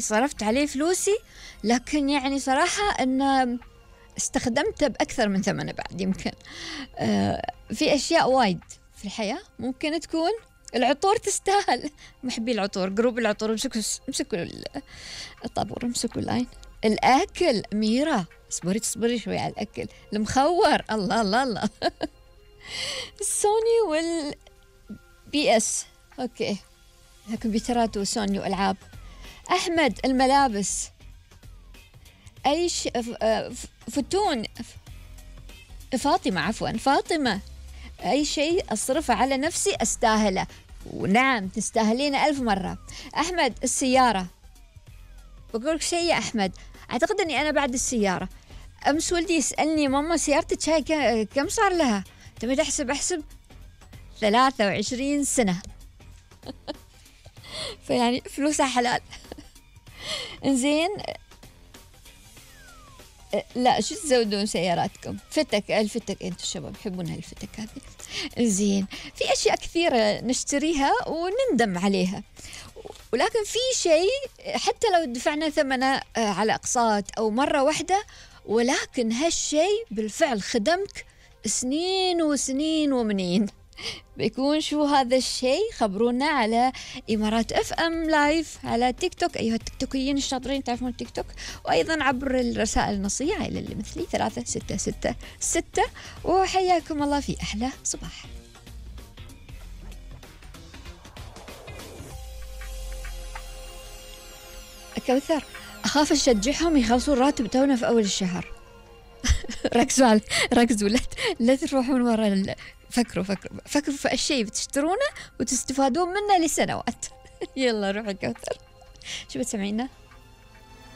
صرفت عليه فلوسي، لكن يعني صراحة أن استخدمته بأكثر من ثمنه بعد يمكن. في أشياء وايد في الحياة ممكن تكون العطور تستاهل. محبي العطور، جروب العطور، امسكوا الطابور، امسكوا اللاين. الأكل ميرا، اصبري شوي على الأكل المخور، الله الله الله. السوني والبي اس، اوكي، كمبيوترات وسوني والعاب. احمد الملابس، اي فتون. فاطمة اي شيء اصرفه على نفسي استاهله، ونعم تستاهلين 1000 مرة. احمد السيارة، بقولك شيء يا احمد، اعتقد اني انا بعد السيارة. امس ولدي يسألني ماما سيارتك هاي كم صار لها؟ تبي احسب 23 سنة. فيعني فلوسها حلال. انزين، لا شو تزودون سياراتكم؟ الفتك انتم الشباب تحبون هالفتك هذه. انزين، في اشياء كثيرة نشتريها ونندم عليها، ولكن في شيء حتى لو دفعنا ثمنه على اقساط او مرة واحدة، ولكن هالشيء بالفعل خدمك سنين وسنين ومنين. بيكون شو هذا الشيء؟ خبرونا على إمارات اف ام لايف على تيك توك، أيها التيك الشاطرين تعرفون التيك توك، وأيضا عبر الرسائل النصية إلى اللي مثلي 3666. وحياكم الله في أحلى صباح. كوثر، أخاف أشجعهم يخلصون راتب تونا في أول الشهر. ركزوا لا تروحون ورا فكروا في الشيء بتشترونه وتستفادون منه لسنوات. يلا روحي كوثر، شو بتسمعينا؟